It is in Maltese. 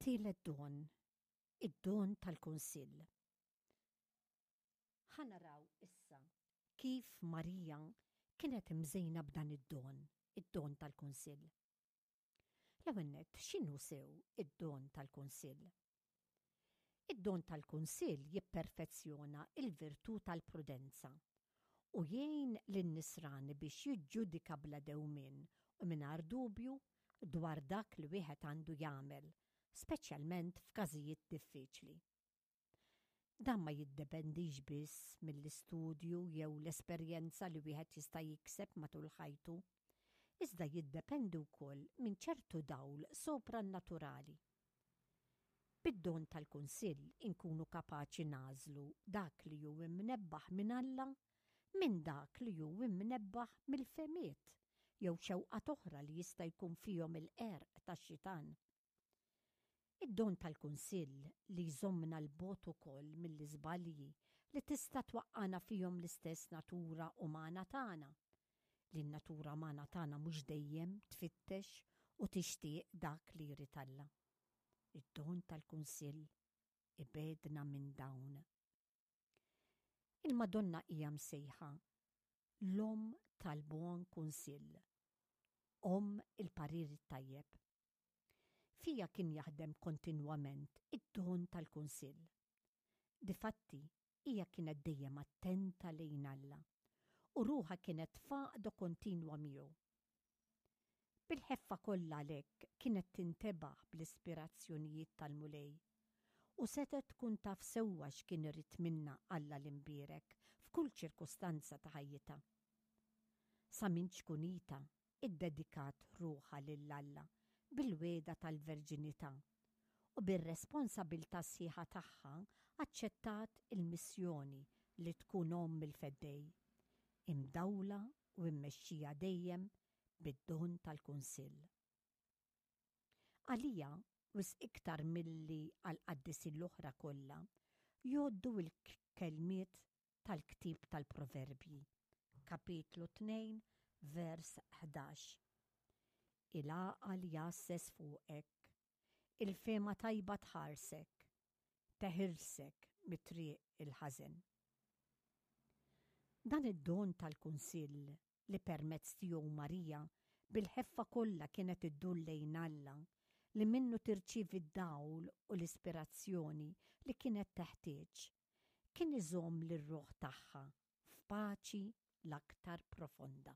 It-tielet don, id-don tal-kunsill. Ħa naraw issa kif Marija kienet imżejna b'dan id-don, id-don tal-kunsill. L-ewwel nett, x'inhu sew id-don tal-kunsill? Id-don tal-kunsill jipperfezzjona l-virtù tal-prudenza u jgħin lin-nisrani biex jiġġudika bla dewmien u mingħajr dubju dwar dak li wieħed għandu jagħmel, speċjalment f'każijiet diffiċli. Dan ma jiddependix biss mill-istudju jew l-esperjenza li wieħed jista' jikseb matul ħajtu, iżda jiddependi wkoll minn ċertu dawl soprannaturali. Bid-don tal-kunsill inkunu kapaċi nagħżlu dak li hu imnebbaħ minn Alla minn dak li hu imnebbaħ mill-fehmiet jew xewqat oħra li jista' jkun fihom il-qerq tax-xitan. Id-don tal-kunsill li jżommna 'l bogħod ukoll mill-iżbalji li tista' twaqqagħna fihom l-istess natura umana tagħna, li n-natura umana tagħna mhux dejjem tfittex u tixtieq dak li jrid Alla. Id-don tal-kunsill ibegħdna minn dawn. Il-Madonna hija msejħa l-Omm tal-Buon Kunsill, Omm il-Parir it-Tajjeb. Fiha kien jaħdem kontinwament id-don tal-kunsill. Difatti, hija kienet dejjem attenta lejn Alla u ruħha kienet f'għaqda kontinwa miegħu. Bil-ħeffa kollha għalhekk kienet tintebaħ bl-ispirazzjonijiet tal-Mulej u setgħet tkun taf sewwa x'kien irid minnha Alla l-Imbierek f'kull ċirkustanza ta' ħajjitha. Sa minn ċkunitha iddedikat ruħha lil Alla bil-wegħda tal-verġinità u bir-responsabilità sħiħa tagħha aċċettat il-missjoni li tkun omm il-Feddej, imdawla u mmexxija dejjem bid-don tal-kunsill. Għalija, wisq iktar milli għall-qaddisin l-oħra kollha, jgħoddu l-kelmiet tal-ktieb tal-Proverbji, kapitlu 2, vers 11. Il-għaqal jgħasses fuqek, il-fehma tajba tħarsek, teħilsek mit-triq il-ħażen. Dan id-don tal-kunsill li permezz tiegħu Marija bil-ħeffa kollha kienet iddur lejn Alla, li minnu tirċievi d-dawl u l-ispirazzjoni li kienet teħtieġ, kien iżomm lir-ruħ tagħha f'paċi l-aktar profonda.